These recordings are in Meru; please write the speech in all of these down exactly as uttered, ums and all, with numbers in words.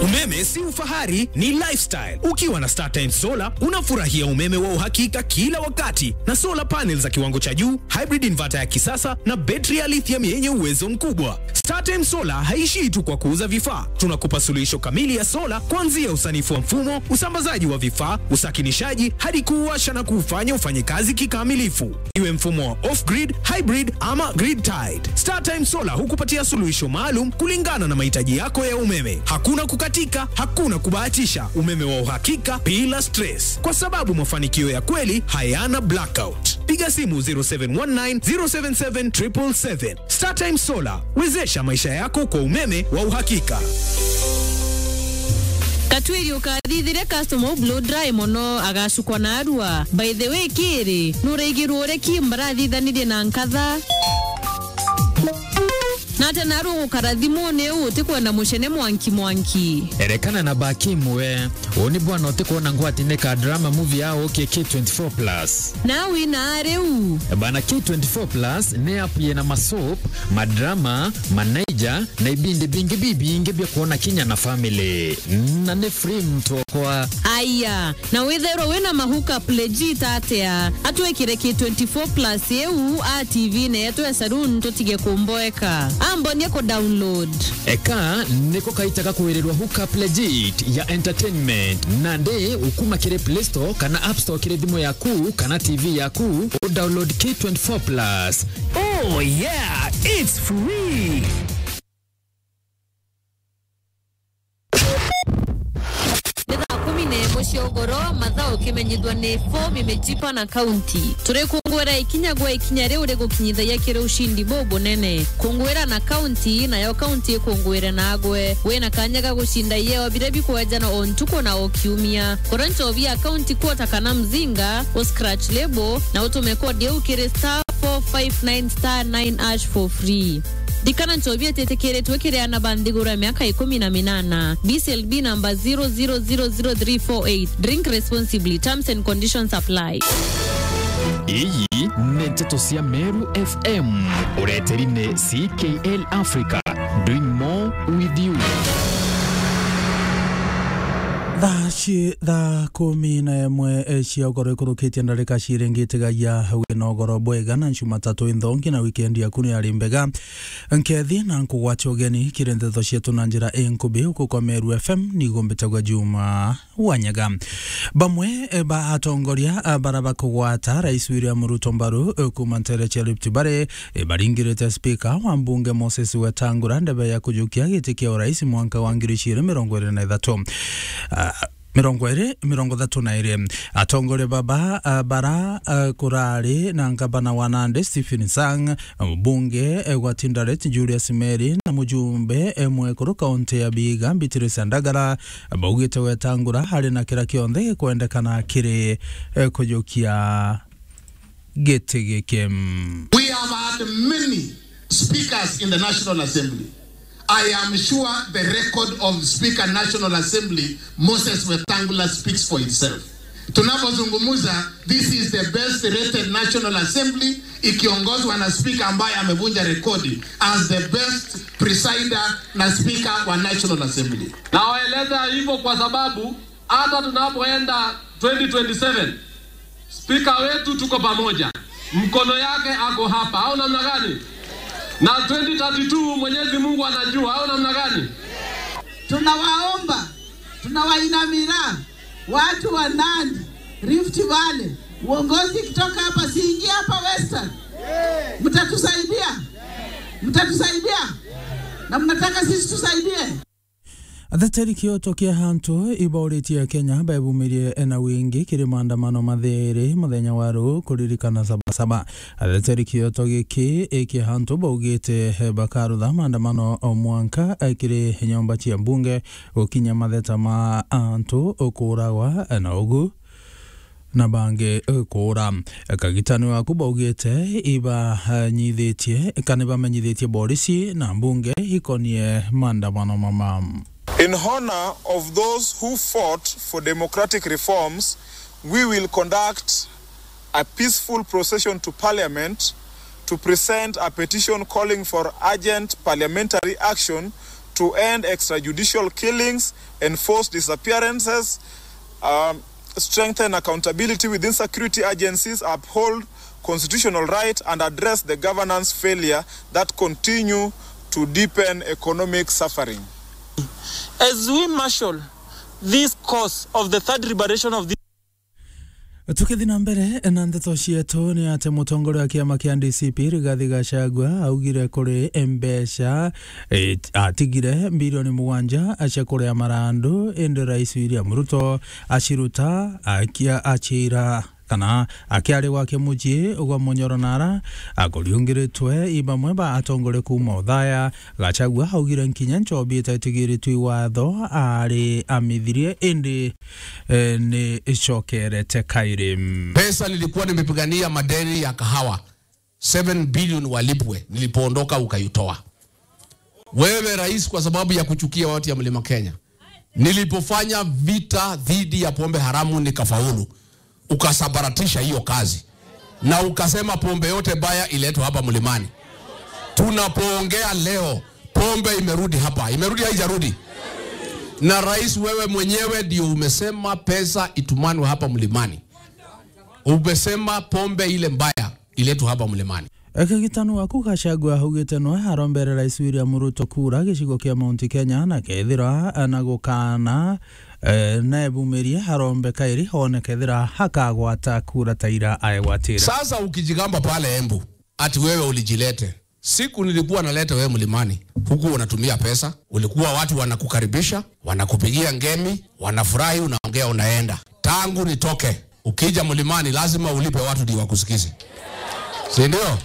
Umeme si ufahari, ni lifestyle. Ukiwa na StarTimes Solar, unafurahia umeme wa uhakika kila wakati, na solar panels za kiwango cha juu, hybrid inverter ya kisasa, na betri ya lithium yenye uwezo mkubwa. StarTimes Solar haishii tu kwa kuuza vifaa. Tunakupa suluhisho kamili ya solar, kuanzia usanifu wa mfumo, usambazaji wa vifaa, usakinishaji, hadi kuuwasha na kuufanya ufanye kazi kikamilifu. Iwe mfumo wa off-grid, hybrid ama grid-tied, StarTimes Solar hukupatia suluhisho maalum kulingana na mahitaji yako ya umeme. Hakuna kukatika, hakuna kubahatisha, umeme wa uhakika bila stress, kwa sababu mafanikio ya kweli hayana blackout. Piga simu zero seven one nine, zero seven seven, triple seven. StarTimes Solar, wezesha maisha yako kwa umeme wa uhakika. Katwiri ukathithire customer u blow dry mono, agacukwa na arua. By the way, kiri, nuraigirwo uria ki mbarathithanirie na nkatha? Na ata naru ugukara thimuni u utikwenda mucene mwanki mwanki? Erekana na Bakim we. Uu ni bwana utikwona ngwati ni ka drama movie ya ukie K twenty-four plus. Na wina riu. Bana, K twenty-four plus ni app yina masoap, madrama, manaija, na ibindi bingi bibingi bia kwona kinya na family. Na ni free mtu okwa. Aya, na withairwa wina mahookup legit atia, atwikire K twenty-four plus iu a T V-ini yetu ya saloon tutige kumboeka. Ambonie ku download. Eka niko kaita ga kwirirwa hookup legit ya entertainment. Nandi ukuma kiri Play Store kana App Store kiri thimu yaku kana T V yaku, u download K twenty-four plus. Oh yeah, it's free. Ni thaa kumi na imwe cia ugoro, mathaa ukimenyithua ni fomu imejipa na kaunti. Turikunguira ikinya gwa ikinya riu rigukinyithagia kiri ushindi bubunene. Kunguira na kaunti, nayo kaunti ikunguire nagwe. Wina kanya ga gucinda ieo biria bikwejanwa o ntuku na o kiumia. Kura nchobi ya kaunti quota kana mzinga, u scratch label, na utume kodi iu kiri star four five nine star nine hash for free. Ndikana nchobi ititikiritwe kiri aana ba nthiguru ya miaka ikumi na minana. B C L B number zero zero zero zero three four eight. Drink responsibly. Terms and conditions apply. Iyi ni nteto cia Meru F M. Ureteri ni C K L Africa. Doing more with you. Thaa ci-, thaa kumi na imwe, eh, cia ugoro ikurukitie ndarika ciringitigagia wina ugoro bwega na Jumatatu inthongi na wikendi yaku ni ari mbega. Nkethi na nkugwatia ugeni kiri nteto cietu na njira inkubi uku kwa Meru F M, nigo mbitagwa Juma Wanyaga. Bamwe, eh, ba atongoria, ah, bara bakugwata Rais William Ruto mbaru, eh, kuma ntere cia Rift Valley, eh, baringirite spika wa mbunge Moses Wetangula ndebe ya kujukia giti kia urais mwanka wa ngiri igiri mirongo iri na ithatu. Ah, mirongo iri, mirongo ithatu na iri. Atongoria baba, ah, bara, ah, kurari na ngavana wa Nandi Stephen Sang, mbunge, eh, gwa Tinderet Julius Meri na mujumbe, eh, mwekuru kaunti ya Vihiga Beatrice Ndagara, baugite Wetangula ari na kira kionthe gikwendekana kiri, eh, kujukia giti giki. We have had many speakers in the National Assembly. I am sure the record of Speaker National Assembly, Moses Wetangula, speaks for itself. Tunapozungumza, this is the best rated National Assembly ikiongozwa na speaker ambaye amevunja rekodi as the best presider na speaker wa National Assembly. Nawaeleza hivyo kwa sababu hata tunapoenda twenty twenty-seven, spika wetu tuko pamoja, mkono yake ako hapa, au namna gani? Na twenty thirty-two Mwenyezi Mungu anajua, au namna gani? Tunawaomba, tunawainamira watu wa Nandi, Rift Valley, uongozi kutoka hapa siingie hapa Western. Mtatusaidia, mtatusaidia, na mnataka sisi tusaidie. Ateteri kioto kia antu ibauritie Akenya bebumirie na wingi kiri maandamano mathiiri muthenya wa ruu kuririkana Sabasaba. Ateteri kioto giki kia antu baugite bakarutha maandamano o mwanka kiri nyomba cia mbunge gukinya matheta ma antu kuuragwa na ugu na bangi, eh, kuura. Kagitani waku baugite ibanyithitie, kana ibamenyithitie borisi na mbunge ikonie maandamano mama. In honor of those who fought for democratic reforms, we will conduct a peaceful procession to Parliament to present a petition calling for urgent parliamentary action to end extrajudicial killings, enforce disappearances, um, strengthen accountability within security agencies, uphold constitutional right, and address the governance failure that continue to deepen economic suffering. As we marshal this cause of the third liberation of this Tukithi na mbere na ndeto cietu, ni ati mutongoria wa kiama kia D C P Rigathi Gachagua augire kuri mbeca, eh, atigire bilioni mugwanja cia kuria marandu, indi Rais William Ruto aciruta akia-, aciira kana akiari gwake mucii gwa Munyoro Nara akuriungiritwe i bamwe ba atongoria kuuma uthaya. Gachagua augire nkinya nchobi itetigiritwe i watho ari amithirie, indi eh, ni icokerete kairi. Pesa nilikuwa nimepigania madeni ya kahawa, seven billion walipwe, nilipoondoka ukaitoa. Wewe rais, kwa sababu ya kuchukia watu ya Mlima Kenya, nilipofanya vita dhidi ya pombe haramu nikafaulu, ukasambaratisha hiyo kazi. Na ukasema pombe yote baya iletwe hapa Mlimani. Tunapoongea leo, pombe imerudi hapa. Imerudi, haijarudi? Na rais, wewe mwenyewe ndio umesema pesa itumanwe hapa Mlimani. Umesema pombe ile mbaya iletwe hapa Mlimani. Ekagitano waku Gachagua augite noe arombere Rais William Ruto kura gicigo kia Mount Kenya, na kethira na gukana, eh, na ebumirie arombe kairi one kethira akagwata kura ta ira aegwatire. Sasa ukijigamba pale Embu, ati wewe ulijilete. Siku nilikuwa naleta wewe Mlimani, huku unatumia pesa, ulikuwa watu wanakukaribisha, wanakupigia ngemi, wanafurahi, unaongea, unaenda. Tangu nitoke, ukija Mlimani, lazima ulipe watu ndio wakusikize. Si ndio?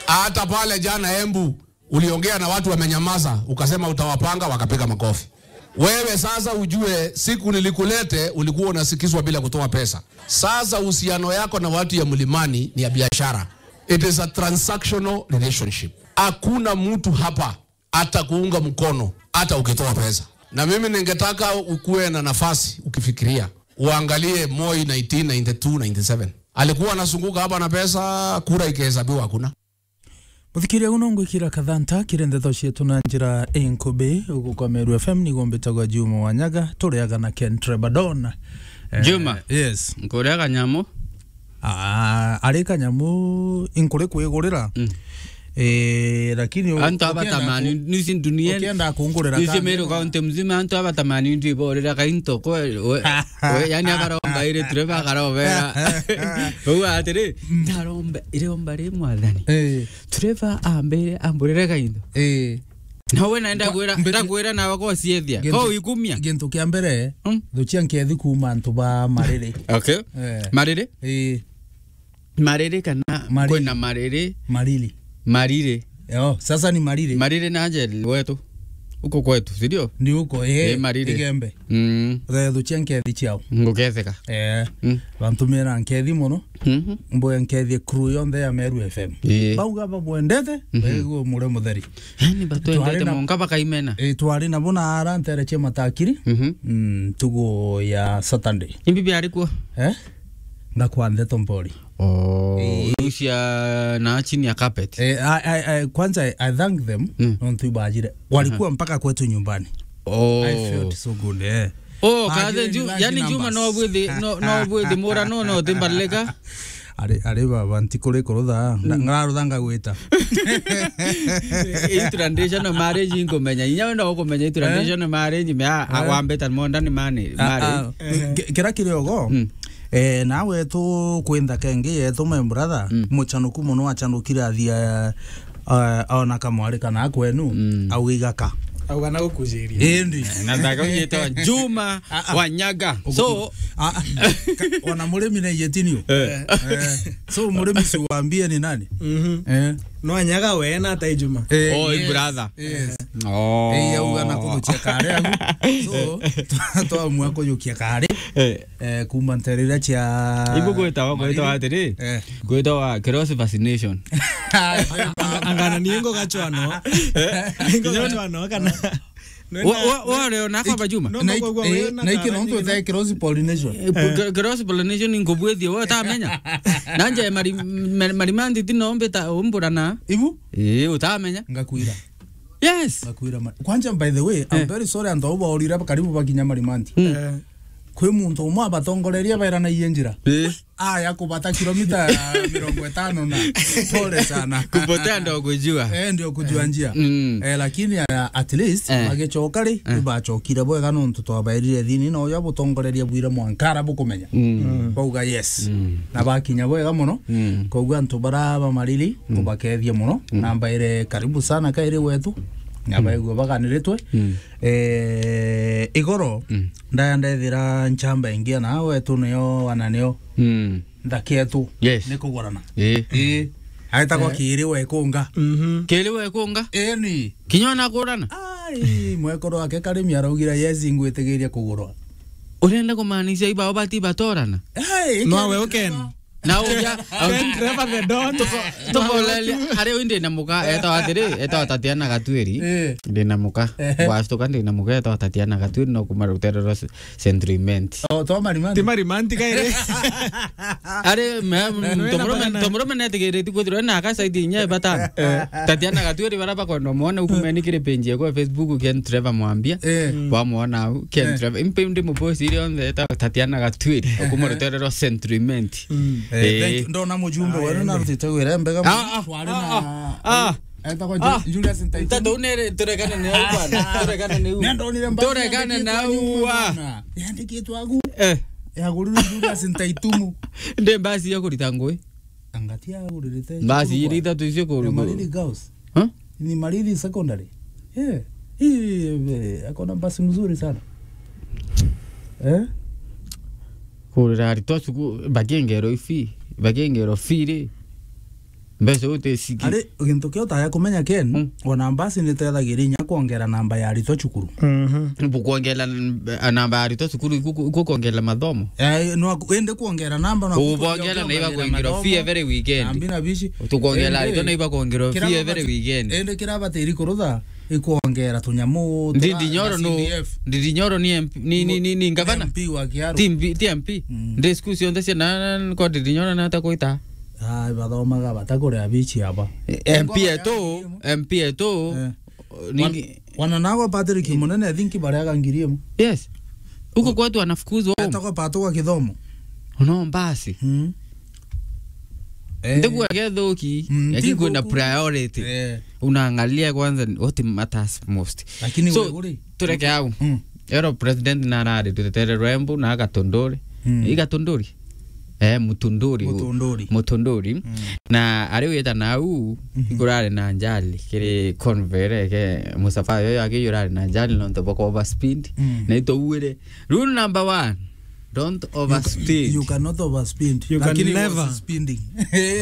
Hata pale jana Embu, uliongea na watu wamenyamaza, ukasema utawapanga, wakapiga makofi. Wewe sasa ujue, siku nilikulete, ulikuwa unasikizwa bila kutoa pesa. Sasa uhusiano yako na watu ya Mlimani ni ya biashara. It is a transactional relationship. Hakuna mtu hapa atakuunga mkono hata ukitoa pesa. Na mimi ningetaka ukuwe na nafasi ukifikiria, uangalie Moi nineteen ninety-two ninety-seven. Alikuwa anazunguka hapa na pesa, kura ikihesabiwa hakuna. Muthikiria, uno ngwikira kathanta kiri ndeto cietu na njira inkubi. Ugu kwa Meru F M niguo mbitagwa Juma Wanyaga, turiaga na Ken Trebadon. Eh, Juma. Yes. Nkuria kanyamu. Ah, ari kanyamu inkuri kwigurira. Mm. Eh, lakini u-, antu ukienda abatamani, ku-, nisi dunia, ukienda kungurira nisi kanyamu. Meru County mzima, antu abatamani ndi borira kainto kwe, we, we, yani akaromba iri tureba akarobera. Uga atiri, mm, ndaromba, iromba ri mwathani. Eh. Tureba ambire, amburire kainto. Eh. Na we naenda kwa-, kwira, ndakwira nawe kwa ciethia. Gintu, kwa ikumia. Gintu kia mbere, mm, thuchia nkethi kuuma antu ba Mariri. Okay. Eh. Mariri? Eh. Mariri kana Mariri. Kwina Mariri? Mariri. Mariri. Yo, sasa ni Mariri. Mariri na Angel wetu. Uko kwetu, si ndio? Ni uko, eh, eh, Mariri. Igembe. Mm. Thuchia nkethi ciao. Nguketheka. Eh. Mm. Bantumira nkethi mono. Mhm. Mboya nkethie crew yonthe ya Meru F M. Ii. Bauga babwendete, mhm, baigua mure mutheri. Yani batwendete twari na, monka bakaimena. Ii, twari nabo na ara ntere cia matakiri. Mhm. Mm, ntugu ya Saturday. Imbi biari kuo? Eh? Ngakwa ndeto mpori. Oh, ii. Riu cia na chini ya carpet. Eh, I, I, I, kwanza I thank them, mm, nontu ibajire. Walikuwa, aha, mpaka kwetu nyumbani. Oh. I felt so good, eh. Oh, kaze, yani Juma no bwithi, no, no bwithi mura no, no timbalika. Ari, ari baba, ntikuri kurutha, mm, ngararutha ngagwita. I traditional marriage inkumenya. Inya wenda ukumenya i traditional, eh, marriage, me a, eh, wambeta modern mani, ah, marriage. Ah, ki-, kira kiri ogo, mm, eh, nawe tu kwintha kengi yetu, my brother, mm, muchanuku muno achanukire athia, eh, ona kamwari kana kwenu, mm, au igaka. Au kana gukujiria. Indi. Na ndaka ugitwa Juma, ah, ah, Wanyaga. Ugu-, so, ah, ah, ka-, ona murimi na iyetinio. Eh. Eh, so murimi si uambie ni nani? Mhm. Eh. No Wanyaga we na ata Juma. Eh, oh, yes, brother. Yes. Oh. Eh, au kana kujukia kare agu. So, twa-, twamua kujukia kare. Eh. Eh, kuma nterera cia ibu gwitawa, gwitawa atiri, eh, gwitawa cross vaccination. Angana ni ngo gachwano. Eh? Ngo gachwano kana. Wa, wa, wa leo na kwamba Juma. No, na no, ik-, kwa, kwa, eh, na iki kara no ni ntwite cross pollination. Eh, cro-, cross pollination ni ngubwithie, we utamenya. Na nje mari-, mari-, marima nditi no mbita umburana. Ibu? Eh, utamenya. Ngakwira. Yes. Bakwira ma-, kwanja, by the way, I'm Eh. very sorry, antu au baorire karibu bakinya Marimanti. Mm. Eh. Kwi muntu umwe abatongoreria bairanaie njira. Eh. Aya kubata kilomita mirongo itano na. Pole sana. Kupotea ndo kujua. Eh, ndio kujua njia. Mm. Eh, lakini, ah, at least, Eh. bagicoka ri, Eh. ibacokire bwega nontu twabairire thini, na uria butongoreria bwire mwankara bukumenya. Mm. Mm. Bauga yes. Mm. Na bakinya bwega mono. Mm. Koguo antu bara bamariri, Mm. kubakethia mono. Mm. Na mbaire karibu sana kairi wetu. Na Mm. baigua baganiritwe. Mm. Eh, igoro, Mm. ndaya ndethira nchamba ingi na wetu niyo, ana niyo. Mm. Nthaki yetu Yes. ni kugurana. Eh. Eh. Aitagwa Eh. Kiri Wekunga. Mhm. Kiri Wekunga? Eh, ni. Kinya ona kurana? Ai, mwekuru wake Karimi araugire, "Yes, ngwitigiria kugurwa." Urenda kumaanisha ibao bati batorana? Ai, No, Ken we uken. Na uja, Ken Trevor the Don. Tubolele, ari uyu ndina muka, etawa atiri, etawa Tatiana Gatwiri. Eh. Ndina muka. Ehe. Wastuka ndina muka, etawa Tatiana Gatwiri, no kuma rutere rwa Central Imenti. Oh, to Marimanti. Ti Marimanti kairi. Ari, me, Na wena tomurume, bana. Tomurume netigiriti kwithirwa na aka side inya batano. Eh. Tatiana Gatwiri bara bakwenda mwona ukumeni kiri page yako ya Facebook, Ken Trevor Mwambia. Eh. Mm. Wamwona au, Ken Eh. Trevor. Impe ndi mupost iri onthe eta Tatiana Gatwiri. Ukuma rutere rwa Central Imenti. Mm. Eh, Eh. thank you. Ndona mujumbe Ah, wenu na ende. Rutite wira mbega Ah, ah, twari ah, na ah, ah. Etagwa Ju-, Ah, Julius Ntaitumu. Ntatu nere turegane na u bwana. Turegane na u. Nenda onire mbasi Turegane yandikitwe na agwe u wa. Bwana. Yandikitwe agu. Eh. Yagurirwe Julius Ntaitumu. Ndi mbasi ya kurita ngui. Angati aguririte Mbasi cukuru iri kwa itatu icio kuru-, ya Malili Girls. Huh? Ni Malili Secondary. Eh. Hii, eh, akona mbasi mzuri sana. Eh? Kurira aritwa cukuru, bakiengerwa ifi, bakiengerwa fee ri. Mbeca uteciki. Ari, gintu kia utaya kumenya, Ken, Mm. ona mbasi nitethagiria inya kwongera namba ya aritwa cukuru. Mhm. Bukwongera n-, namba ya aritwa cukuru, iku-, iku-, iku kwongera mathomo. Eh, no aku-, indi kwongera namba, no Ubongera na iba kwingirwa fee every weekend. Nambi na bici. Tukwongera Indi, aritwa na iba kwingirwa kira fee every mabati-, weekend. Indi kira batiri kurutha, ikwongera tunyamu twa Ndindi Nyoro na no, C D F. Ndindi Nyoro ni M P, ni, ni, ni, ni ngavana. M P wa Kiaru. Ti M P, ti M P. Mm. Ndi school cionthe cia na, na, na, kwa Ndindi Nyoro na ata kwita. Ah, bathomaga batakuria bici aba. Eh, M P etu, M P etu. Eh. Ningi- Wan-, wana nago Patrick Munene, I think, bariaga ngiri imwe. Yes. Huko kwetu wanafukuzwa home. Etagwa Pato wa Kithomo. No mbasi. Mm. Eh. Ndigua gethuki, Mm, lakini ti kwina thuku. Priority. Eh. Unaangalia kwanza what matters most. Lakini So, wewe uri? Tureke au. Mm. Ero president na arari tutetere rwembu na agatunduri. Mm. Igatunduri. Eh, Mutunduri. Mutunduri. Mutunduri. Mm. Na ari wita na au, Mhm. ikurari na njali, kiri convoy ke musafara yo yake yurari na njali nontu bwa overspeed. Mm. Na itouire. Rule number one, don't You ca-, overspeed. You cannot overspeed. You can Lakini never. Was speeding.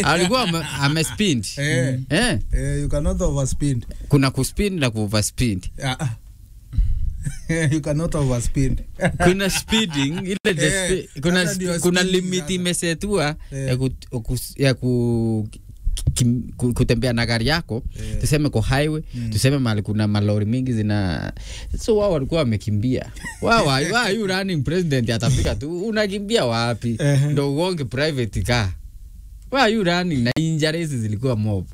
Alikuwa ame-, amespeed. Eh. Eh. Eh, you cannot overspeed. Kuna kuspeed na kuoverspeed. Ah, ah. You cannot overspeed. Kuna speeding, ile the Eh, spe-, kuna sasa spe-, ndio kuna speeding limit sasa. Imesetua Eh. Ya ku-, kus-, ya ku-, kim-, ku-, kutembea na gari yako, Eh. Tuseme kwa highway, Mm. Tuseme mahali kuna malori mingi zina-, so wao walikuwa wamekimbia. Wao, why, why are you running president atafika tu? Unakimbia wapi? Ehe. Ndo ugonge private car. Why are you running? Na injuries zilikuwa mob.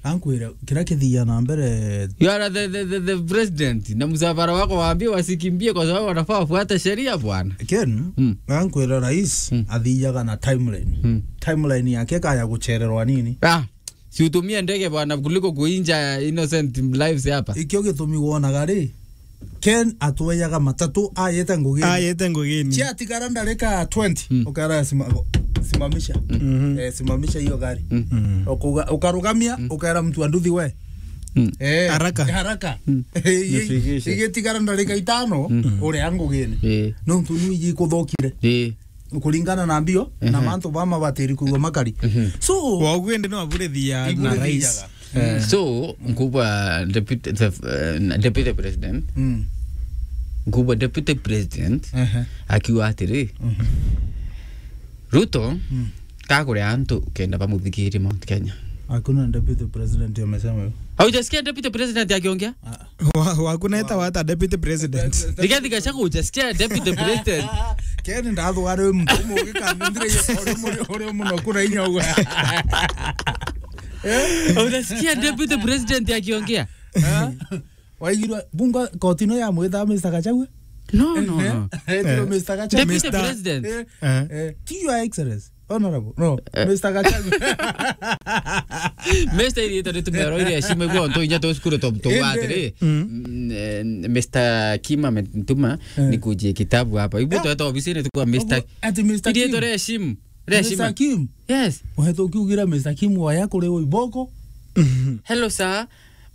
Ankwira, kira kithia na mbere. You are the, the, the, the president. Na msafara wako waambie wasikimbie kwa sababu wanafaa wafuate sheria, bwana. Ken, Mm. Ankwira rais Mm. athiaga na timeline. Mm. Timeline yake kaya guchererwa nini? Ah, si utumie ndege, bwana, kuliko kuinja innocent lives hapa. Ikio gitumi wonaga ri, Ken atwejaga matatu ayete ngugini. Ayete ngugini. Ciatigara ndarika twenty, Mm. Ukera sima-, simamisha. Mhm. Eh, simamisha hiyo gari. Mm. Mm. Ukuga-, ukarugamia, Mm. Ukera mtu wa nduthi we. Mm. Eh, Haraka. Haraka. Mm. Eh, Nifikishe. Igitigara ndarika itano, Mm. Uria ngugini. Eh. Nontu ni iji kuthokire. Eh. Kuringana na mbio, na Ehe. Mantu bama batiri kuigwa makari. Mhm. So, Waugu indi no aburithia na rais. Iburithia. Eh. So, nkubwa deputy, the, eh, deputy president. Mm. Nkubwa deputy president Ehe. Akiuga atiri, Mhm. Ruto, Mm. Kakuria antu kenda bamuthikirie Mount Kenya. Hakuna deputy president amesema hivyo. Haujasikia deputy president akiongea? Ah. Wa-, wakuneta wata deputy president. Rigathi Gachagua, hujasikia deputy president? Ken ndathwara uyu mtu umwe ugikandindire uri muno kuna inya uwe. Hujasikia deputy president akiongea? Eh? Waigirwa bunga koti no ya mwita Mister Gachagua? No, no, no. Eh, eh, Mister Gachagua. Deputy President. Eh, eh, ti Your Excellency. Honorable. No, eh, Mister Gachagua. Mister iriitwa ritumero iria heshima igwe onto inya tu cukuru tu, tu atiri. Mm, eh, Mister Kim ametuma nikujie kitabu hapa. Igwe tweta obisini tukwa Mister. Ati Mister Kim. Iriitwa ria heshima. Ria heshima. Mister Kim. Yes. Uhetu ukiugira Mister Kim waya kuri iboko. Hello, sir.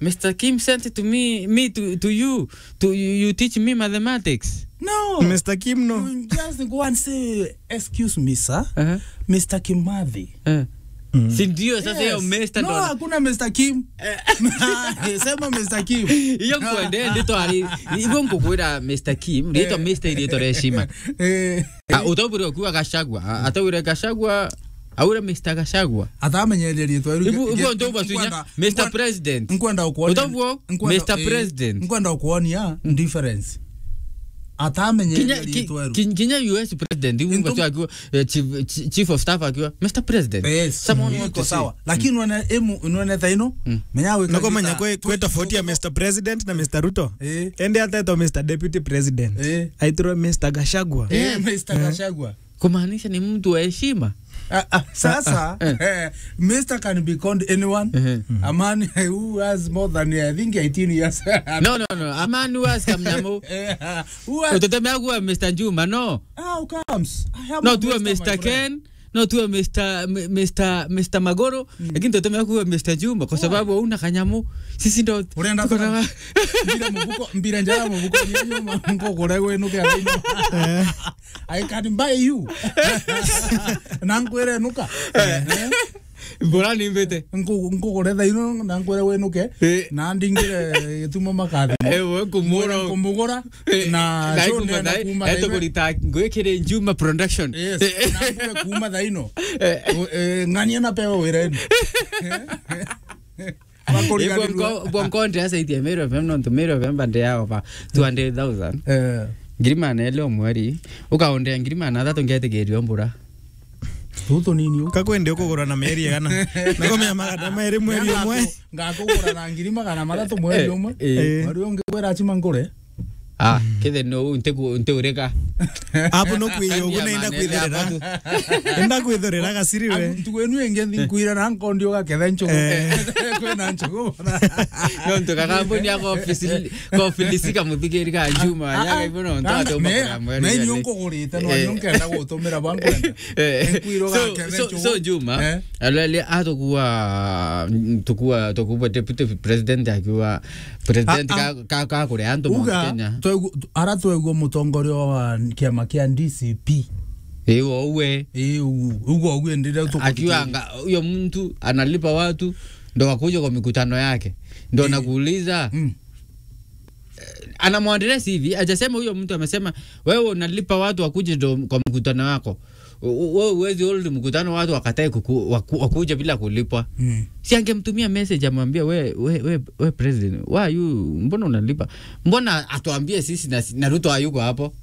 Mister Kim sent to me, me to, to you, to you, you teach me mathematics. No. Mister Kim, no. You just go and say, "Excuse me, sir." Uh-huh. Mister Kimathi. Eh. Si ndio sasa hiyo Mister ndo. No, hakuna Mister Kim. Sema Mister Kim. Iyo nkwende, ndi twari, ibo nkukwira Mister Kim, riitwa Mister iriitwa ria heshima. Eh. Ah, utaubure ukiuga Gachagua. Ah, ataure Gachagua, aure Mister Gachagua. Atamenyeria riitwa riu. Ibu, ibu ndio basunya, Mister President. Nkwenda ukuonia. Utabuo, Mister President. Nkwenda ukuonia difference. Atamenyeria riitwa riu. Kinya U S President, ibu basunya akiwa, eh, chief, chi-, chief of staff akiwa, Mister President. Yes. Someone want to say. Sawa. Lakini none emu, none thaino, menya gwika. Nako menya kwe, kwe tofauti ya Mister President na Mister Ruto. Eh. Ende atetwa Mister Deputy President. Eh. Aitirwe Mister Gachagua. Eh, Mister Gachagua. Kumaanisha ni mtu wa heshima. Ah, ah, sasa, eh, Mister can be called anyone. A man who has more than, I think, eighteen years. No, no, no. A man who has kamnyamu. Eh, who has. Utetemea kuwa Mister Juma, no. How comes? I am no, a tuwe Mister, Mister Ken. No, tuwe Mister, M-, Mister, Mister Magoro, lakini tutetemea kuwa Mister Juma kwa sababu hauna kanyamu. Sisi ndo urenda tuko na sana. Mbira mubuko, mbira njara mubuko ni nyuma, nkukure gwe nuke aino. I can buy you. Na nkwire nuka. Eh. Mbura ni mbite. Nku-, nkugure thaino na nkwire winuke. Eh. Na ndingire gitumo makathi. Eh, we kumura. Nkumugura. Eh, na na show ikuma nenda thai-, kuma eto thaino. Kurita ngwikire Juma Production. Yes. Eh. Na mbure kuma thaino. Eh. Eh, ng'ania na pewe wirenu. Bakuriganirua. Ibwo nko-, bwo nkonde asa itie Meru F M, nontu Meru F M bande yao ba two hundred thousand. Eh. Ngiri magana eli o mweri, ukaondea ngiri magana athatu ngetigirio mbura. Tutu nini u? Kakwende ukugura na meri igana. Nako mea magana meri mweri umwe. Ngakugura na ngiri magana mathatu mweri umwe. Eh, eh. Mweri ungi wira achima ngure. Ah, kithe no ntiku-, ntiurika. Abu no kwiyo, ugu na inda kwithirira. Inda kwithirira gaciri we. Abu ntuku inu ingi nthi nkwira na nkondi ugaketha nchugu. Eh. Kwina nchugu. No ntu kakambuni ako ofisi, ko ofisi ka muthigiri ka Juma, ah, ya ah, gaibo no ntu ah, atu me-, bakora mweri me ni yani. Unkugurite, no, eh, ni unkenda gutumira bwa nkwenda. Eh. Nkwira so, ugaketha so, nchugu. So Juma, eh? Alele atukua, tukua, tukua deputy president akiwa President ah, ah, ka, ka, ka kuria antu Mount Kenya. Uga, twegu-, ara twegua mutongoria wa kiama kia D C P. Ii, o uwe. Ii, u-, uga uwe ndire tukuthikiriria. Akiwa anga, huyo mtu analipa watu, ndo wakuja kwa mikutano yake. Ndo nakuuliza, mm, eh, anamwandilia C V, hajasema huyo mtu amesema, "Wewe unalipa watu wakuje ndo kwa mkutano wako." U-, u-, wewe huwezi hold mkutano watu wakatae kuku-, waku-, wakuje bila kulipwa. Mm. Si angemtumia message amwambie, "We, we, we, we president, why are you, mbona unalipa? Mbona atuambie sisi na, na Ruto hayuko hapo?"